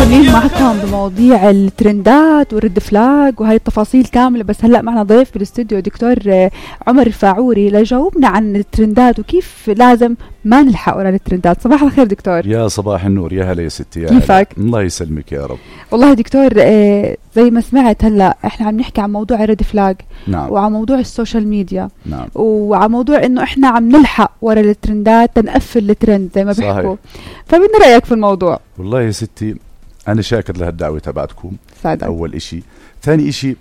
مستمرين معكم بمواضيع الترندات والرد فلاج وهي التفاصيل كاملة. بس هلأ معنا ضيف بالاستوديو دكتور عمر الفاعوري ليجاوبنا عن الترندات وكيف لازم ما نلحق ورا الترندات. صباح الخير دكتور. يا صباح النور، يا هلا يا ستي، يا كيفك؟ الله يسلمك يا رب. والله دكتور زي ما سمعت هلأ احنا عم نحكي عن موضوع الرد فلاج. نعم. وعن موضوع السوشيال ميديا. نعم. وعن موضوع انه احنا عم نلحق ورا الترندات تنقفل الترند زي ما بيحكوا. فبدنا رأيك في الموضوع. والله يا ستي أنا شاكر لهالدعوة تبعتكم. سعدك. أول إشي. ثاني إشي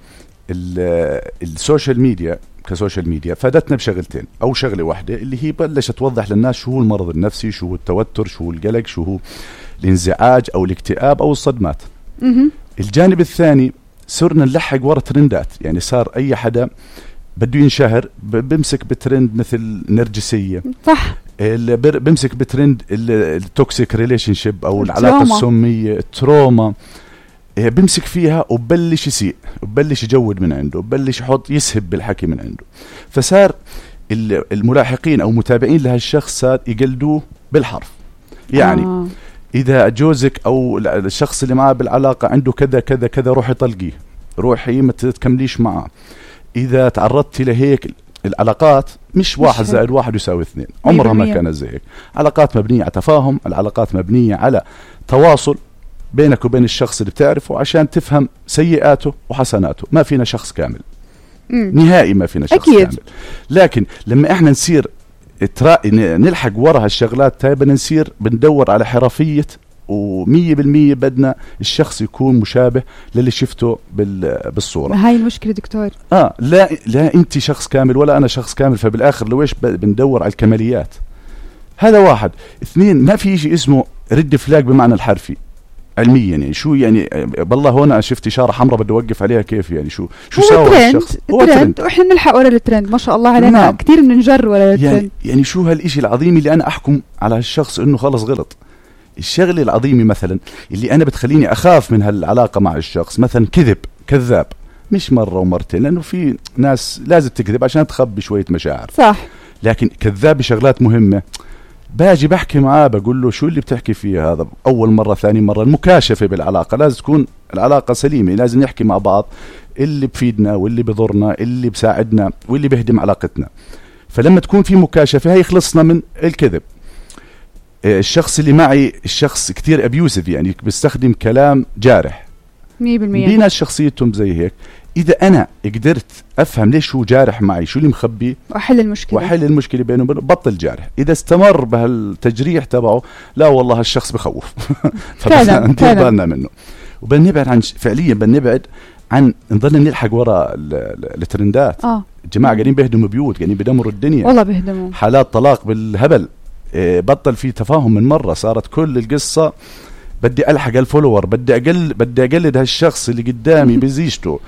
السوشيال ميديا كسوشيال ميديا فادتنا بشغلتين، أو شغلة واحدة اللي هي بلشت توضح للناس شو هو المرض النفسي، شو هو التوتر، شو هو القلق، شو هو الانزعاج أو الاكتئاب أو الصدمات. الجانب الثاني صرنا نلحق ورا ترندات، يعني صار أي حدا بده ينشهر بمسك بترند مثل نرجسية، صح، بمسك بترند التوكسيك ريليشن شيب أو العلاقة السمية، التروما، بمسك فيها وبلش يسيء، وبلش يجود من عنده، وبلش يحط يسهب بالحكي من عنده. فصار الملاحقين أو متابعين لهالشخص صار يقلدوه بالحرف. يعني إذا جوزك أو الشخص اللي معه بالعلاقة عنده كذا كذا كذا روحي طلقيه، روحي ما تكمليش معه. إذا تعرضتي لهيك العلاقات مش 1+1=2، عمرها ما كانت زي هيك. علاقات مبنية على تفاهم، العلاقات مبنية على تواصل بينك وبين الشخص اللي بتعرفه عشان تفهم سيئاته وحسناته. ما فينا شخص كامل نهائي، ما فينا شخص أكيد. كامل. لكن لما احنا نصير نلحق ورا هالشغلات تايبا، نصير بندور على حرفية، و100% بدنا الشخص يكون مشابه للي شفته بالصورة. هاي المشكلة دكتور. لا انت شخص كامل ولا انا شخص كامل، فبالاخر لويش بندور على الكماليات. هذا واحد. اثنين، ما في شيء اسمه رد فلاج بمعنى الحرفي علميا. يعني شو يعني بالله هون شفت إشارة حمراء بدي أوقف عليها كيف؟ يعني شو سوى الشخص؟ هو ترند وإحنا نلحق ورا الترند. ما شاء الله علينا. نعم. كتير بننجر ورا الترند. يعني شو هالإشي العظيم اللي أنا أحكم على هالشخص إنه خلص غلط. الشغلة العظيمة مثلا اللي أنا بتخليني أخاف من هالعلاقة مع الشخص، مثلا كذاب مش مرة ومرتين، لأنه في ناس لازم تكذب عشان تخبي شوية مشاعر، صح، لكن كذاب بشغلات مهمة. باجي بحكي معاه بقول له شو اللي بتحكي فيه هذا؟ أول مرة، ثاني مرة، المكاشفة بالعلاقة لازم تكون العلاقة سليمة، لازم نحكي مع بعض اللي بفيدنا واللي بضرنا، اللي بساعدنا واللي بيهدم علاقتنا. فلما تكون في مكاشفة هي خلصنا من الكذب. الشخص اللي معي الشخص كتير أبيوسف، يعني بيستخدم كلام جارح 100%. في ناس شخصيتهم زي هيك. إذا أنا قدرت أفهم ليش هو جارح معي، شو اللي مخبي، وأحل المشكلة بينه وبينه، بطل جارح. إذا استمر بهالتجريح تبعه، لا والله هالشخص بخوف. فبدنا ندير بالنا منه، وبنبعد عن فعليا بنبعد عن نضلنا نلحق وراء الترندات. الجماعة قاعدين بيهدموا بيوت، قاعدين بدمروا الدنيا، والله بيهدموا. حالات طلاق بالهبل. بطل في تفاهم من مرة، صارت كل القصة بدي ألحق الفولور، بدي أقلد هالشخص اللي قدامي بزيجته،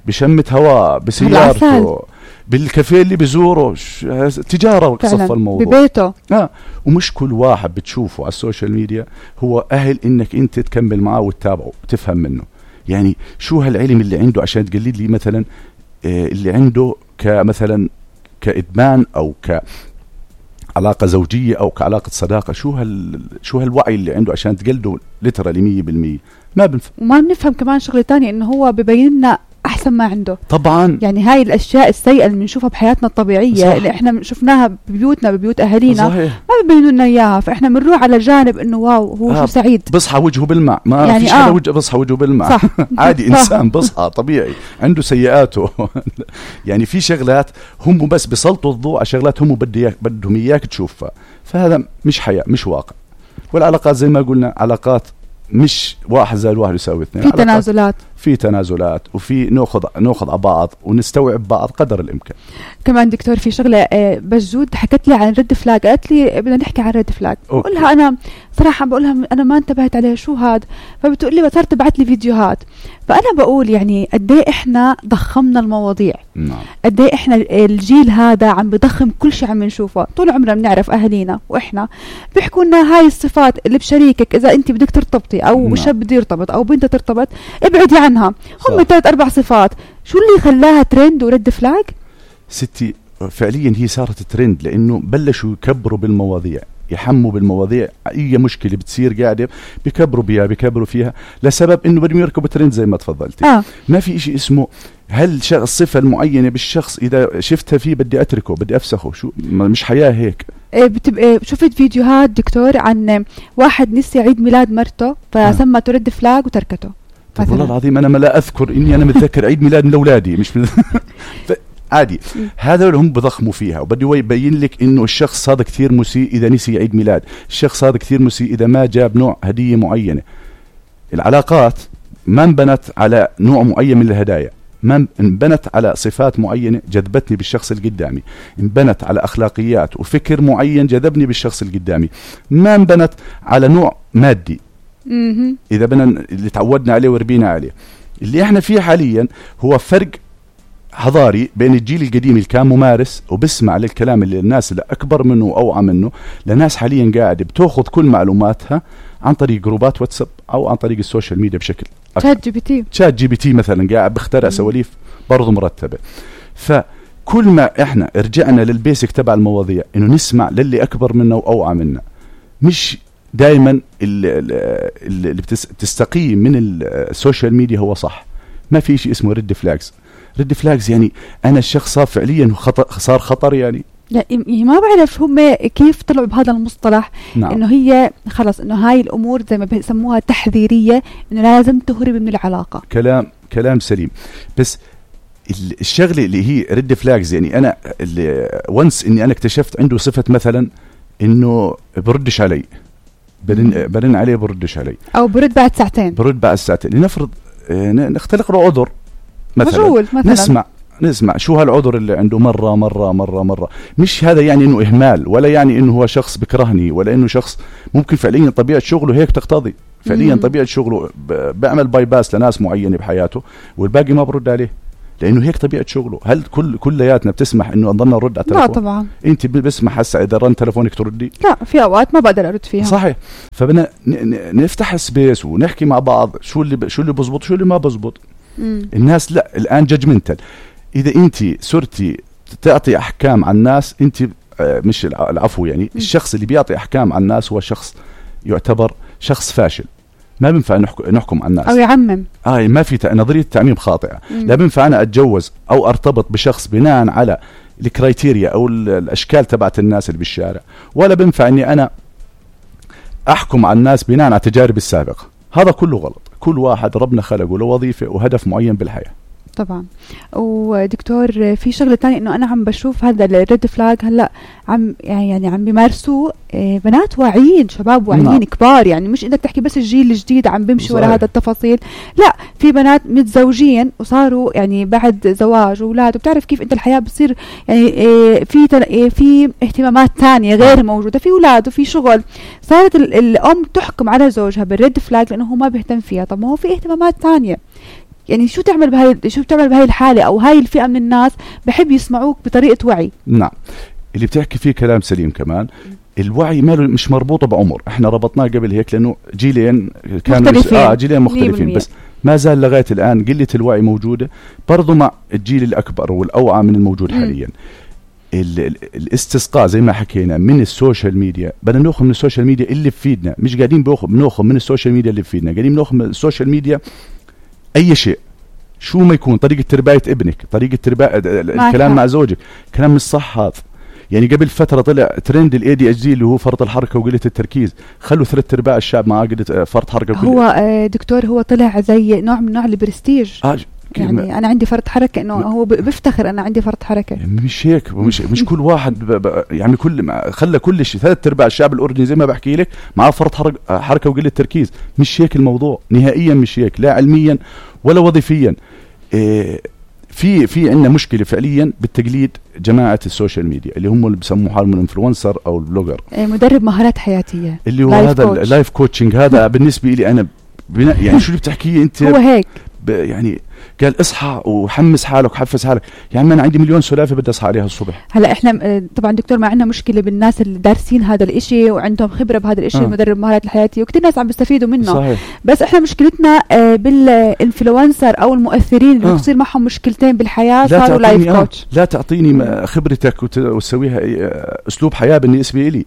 بشمة هواء، بسيارته، بالكافيه اللي بزوره، تجارة وصف الموضوع ببيته. ومش كل واحد بتشوفه على السوشيال ميديا هو أهل إنك أنت تكمل معه وتتابعه وتفهم منه. يعني شو هالعلم اللي عنده عشان تقلد لي مثلا اللي عنده كمثلا كإدمان أو كعلاقة زوجية أو كعلاقة صداقة. شو هالوعي اللي عنده عشان تقلده لترالي 100%؟ ما بنفهم. وما بنفهم كمان شغلة تانية إنه هو ببين لنا أحسن ما عنده. طبعا يعني هاي الأشياء السيئة اللي بنشوفها بحياتنا الطبيعية، صح، اللي إحنا شفناها ببيوتنا ببيوت أهالينا، صحيح، ما ببينوا لنا إياها. فإحنا بنروح على جانب إنه واو هو شو سعيد، بصحى وجهه بالماء، ما يعني فيش حدا بصحى وجهه بالماء. صح. عادي إنسان بصحى طبيعي عنده سيئاته. يعني في شغلات هم بس بيسلطوا الضوء على شغلات هم بدهم إياك تشوفها. فهذا مش حياة، مش واقع. والعلاقات زي ما قلنا علاقات مش 1+1=2، في تنازلات وفي ناخذ على بعض ونستوعب بعض قدر الامكان. كمان دكتور في شغله بجود حكت لي عن رد فلاج، قالت لي بدنا نحكي عن رد فلاج. بقولها انا صراحه بقولها انا ما انتبهت عليها شو هاد، فبتقول لي صارت تبعت لي فيديوهات. فانا بقول يعني قد ايه احنا ضخمنا المواضيع، قد ايه احنا الجيل هذا عم بضخم كل شيء عم نشوفه. طول عمرنا بنعرف اهالينا واحنا بيحكوا لنا هاي الصفات اللي بشريكك، اذا انت بدك ترتبطي او شاب بده يرتبط او بنت ترتبط ابعدي عنها، هم 3-4 صفات. شو اللي خلاها ترند ورد فلاج؟ ستي فعليا هي صارت ترند لانه بلشوا يكبروا بالمواضيع. يحموا بالمواضيع. اي مشكله بتصير قاعده بكبروا فيها لسبب انه بدهم يركبوا ترند زي ما تفضلتي. ما في إشي اسمه هل الصفه المعينه بالشخص اذا شفتها فيه بدي اتركه بدي افسخه، شو مش حياه هيك. بتبقى شفت فيديوهات دكتور عن واحد نسي عيد ميلاد مرته فسمته ريد فلاج وتركته. طب والله العظيم انا ما لا اذكر اني انا متذكر عيد ميلاد من اولادي مش عادي. هذا اللي هم بضخموا فيها، وبده يبين لك انه الشخص هذا كثير مسيء اذا نسي عيد ميلاد، الشخص هذا كثير مسيء اذا ما جاب نوع هديه معينه. العلاقات ما انبنت على نوع معين من الهدايا، ما انبنت على صفات معينه جذبتني بالشخص اللي قدامي، انبنت على اخلاقيات وفكر معين جذبني بالشخص اللي قدامي، ما انبنت على نوع مادي. اذا بدنا اللي تعودنا عليه وربينا عليه. اللي احنا فيه حاليا هو فرق حضاري بين الجيل القديم اللي كان ممارس وبسمع للكلام اللي الناس اللي اكبر منه واوعى منه، لناس حاليا قاعده بتاخذ كل معلوماتها عن طريق جروبات واتساب او عن طريق السوشيال ميديا بشكل شات جي بي تي مثلا قاعد بخترع سواليف برضه مرتبه. فكل ما احنا رجعنا للبيسك تبع المواضيع انه نسمع للي اكبر منا واوعى منا، مش دائما اللي بتستقيم من السوشيال ميديا هو صح. ما في شيء اسمه ريد فلاجز يعني انا الشخص صار فعليا صار خطر يعني. لا ما بعرف هم كيف طلعوا بهذا المصطلح. نعم. انه هي خلص انه هاي الامور زي ما بيسموها تحذيريه، انه لازم تهرب من العلاقه. كلام سليم، بس الشغله اللي هي ريد فلاجز يعني انا اللي وانس اني انا اكتشفت عنده صفه مثلا انه بردش علي، برن عليه بردش علي، او برد بعد ساعتين لنفرض نختلق له عذر مثلا. نسمع شو هالعذر اللي عنده مرة. مش هذا يعني انه اهمال، ولا يعني انه هو شخص بكرهني، ولا انه شخص ممكن فعليا طبيعة شغله هيك تقتضي، فعليا طبيعة شغله بيعمل باي باس لناس معينة بحياته والباقي ما برد عليه لانه هيك طبيعة شغله. هل كلياتنا بتسمح انه نضلنا نرد على التليفون؟ لا طبعا. انت بسمح هسه اذا رن تليفونك تردي؟ لا، في اوقات ما بقدر ارد فيها. صحيح. فبدنا نفتح سبيس ونحكي مع بعض شو اللي بزبط شو اللي ما بزبط. الناس لا الان جاجمنتال. اذا انت صرتي تعطي احكام عن الناس انت مش العفو يعني الشخص اللي بيعطي احكام عن الناس هو شخص يعتبر شخص فاشل. ما بينفع نحكم عن الناس او يعمم. ما في نظريه تعميم خاطئه. لا بينفع انا اتجوز او ارتبط بشخص بناء على الكرايتيريا او الاشكال تبعت الناس اللي بالشارع، ولا بينفع اني انا احكم عن الناس بناء على تجاربي السابقه. هذا كله غلط. كل واحد ربنا خلقه له وظيفه وهدف معين بالحياه. طبعا. ودكتور في شغله تانية انه انا عم بشوف هذا الريد فلاج هلا عم بيمارسوه بنات واعيين، شباب واعيين كبار، يعني مش انك تحكي بس الجيل الجديد عم بيمشي ورا هذا التفاصيل، لا في بنات متزوجين وصاروا يعني بعد زواج واولاد، وبتعرف كيف انت الحياه بتصير يعني في اهتمامات تانية غير موجوده، في اولاد وفي شغل، صارت الام تحكم على زوجها بالريد فلاج لانه هو ما بيهتم فيها. طب ما هو في اهتمامات تانية، يعني شو تعمل بهاي الحالة أو هاي الفئة من الناس بحب يسمعوك بطريقة وعي. نعم، اللي بتحكي فيه كلام سليم كمان. الوعي ماله مش مربوطة بعمر، احنا ربطناه قبل هيك لأنه جيلين كانوا جيلين مختلفين، بس ما زال لغاية الآن قلة الوعي موجودة برضو مع الجيل الأكبر والأوعى من الموجود حاليا. الاستسقاء زي ما حكينا من السوشيال ميديا، بدنا ناخذ من السوشيال ميديا اللي بفيدنا، مش قاعدين بناخذ من السوشيال ميديا اللي بفيدنا، قاعدين بناخذ من السوشيال ميديا أي شيء، شو ما يكون، طريقة ترباية ابنك، طريقة الكلام مع زوجك، كلام مش صح هذا. يعني قبل فترة طلع ترند ADHD اللي هو فرط الحركة وقلة التركيز، خلوا 3/4 الشعب مع قلة فرط حركة. هو دكتور هو طلع زي نوع من البرستيج. يعني أنا عندي فرط حركة، إنه هو بفتخر أنا عندي فرط حركة. مش هيك، مش كل واحد يعني خلى كل شيء 3/4 الشعب الأردني زي ما بحكي لك مع فرط حركة وقلة تركيز. مش هيك الموضوع نهائيا، مش هيك، لا علميا ولا وظيفيا. في عندنا مشكلة فعليا بالتقليد جماعة السوشيال ميديا اللي هم اللي بسموه حالهم الانفلونسر أو البلوجر، مدرب مهارات حياتية اللي هو هذا اللايف كوتشنج. هذا بالنسبة لي أنا يعني شو اللي بتحكيه أنت؟ هو هيك يعني قال اصحى وحمس حالك وحفز حالك. يعني أنا عندي مليون سلافة بدي أصحى عليها الصبح. هلا إحنا طبعا دكتور ما عندنا مشكلة بالناس اللي دارسين هذا الإشي وعندهم خبرة بهذا الإشي، مدرب المهارات الحياتية، وكتير ناس عم بيستفيدوا منه. صحيح. بس إحنا مشكلتنا بالإنفلونسر أو المؤثرين اللي بتصير معهم مشكلتين بالحياة، صاروا لايف كوتش. لا تعطيني خبرتك وتسويها أسلوب حياة بالنسبة لي.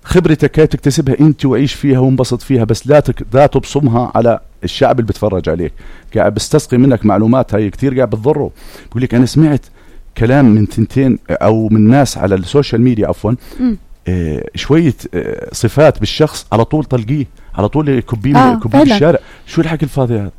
خبرتك هاي تكتسبها انت وعيش فيها وانبسط فيها، بس لا تبصمها على الشعب اللي بتفرج عليك. قاعد بستسقي منك معلومات هاي كتير قاعد بتضره. بقول لك انا سمعت كلام من ثنتين او من ناس على السوشيال ميديا عفوا شوية صفات بالشخص على طول طلقيه، على طول كبيه بالشارع. شو الحكي الفاضي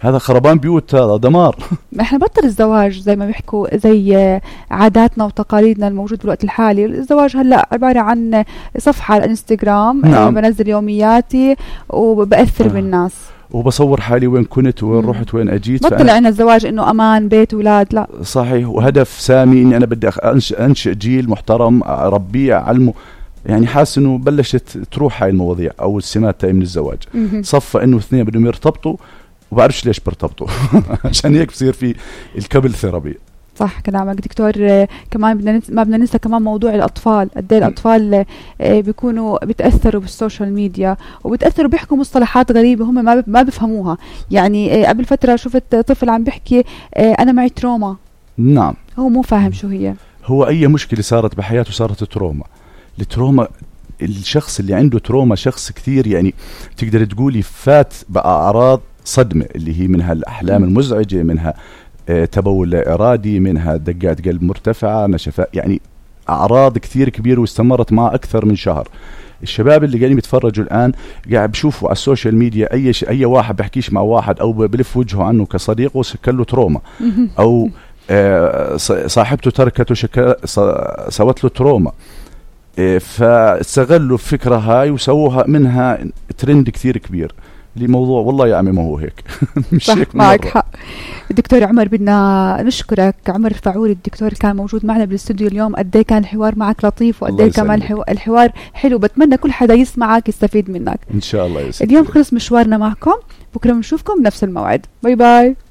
هذا خربان بيوت، هذا دمار. احنا بطل الزواج زي ما بيحكوا، زي عاداتنا وتقاليدنا الموجود بالوقت الحالي. الزواج هلا عبارة عن صفحة على الانستغرام، نعم. بنزل يومياتي وبأثر بالناس وبصور حالي وين كنت وين رحت وين اجيت. بطل عنا الزواج انه امان بيت اولاد، لا صحيح. وهدف سامي اني انا بدي انشئ جيل محترم، اربيه اعلمه. يعني حاسس انه بلشت تروح هاي المواضيع او السمات تاعي من الزواج. صفى انه اثنين بدهم يرتبطوا وبعرفش ليش برتبطوا عشان هيك بصير في الكابل ثيرابي. صح كلامك دكتور. كمان ما بدنا ننسى كمان موضوع الأطفال. قد ايه الأطفال بيكونوا بيتأثروا بالسوشيال ميديا وبيتأثروا، بيحكوا مصطلحات غريبة هم ما بيفهموها. يعني قبل فترة شفت طفل عم بيحكي أنا معي تروما. نعم. هو مو فاهم شو هي. هو أي مشكلة صارت بحياته صارت تروما. التروما، الشخص اللي عنده تروما شخص كثير يعني تقدر تقولي فات بأعراض صدمة، اللي هي منها الأحلام المزعجة، منها تبول لا إرادي، منها دقات قلب مرتفعة، نشفاء، يعني أعراض كثير كبيرة واستمرت معه أكثر من شهر. الشباب اللي قاعدين يتفرجوا الآن قاعد بشوفوا على السوشيال ميديا أي واحد بحكيش مع واحد أو بلف وجهه عنه كصديق وسكر له تروما، أو صاحبته تركته سوت له تروما. فاستغلوا الفكرة هاي وسووها منها ترند كثير كبير لموضوع. والله يا عمي ما هو هيك. مش هيك. معك حق دكتور عمر. بدنا نشكرك عمر الفاعوري الدكتور كان موجود معنا بالاستوديو اليوم. قد ايه كان الحوار معك لطيف، وقد ايه كمان الحوار حلو. بتمنى كل حدا يسمعك يستفيد منك ان شاء الله. اليوم خلص مشوارنا معكم، بكره بنشوفكم بنفس الموعد. باي باي.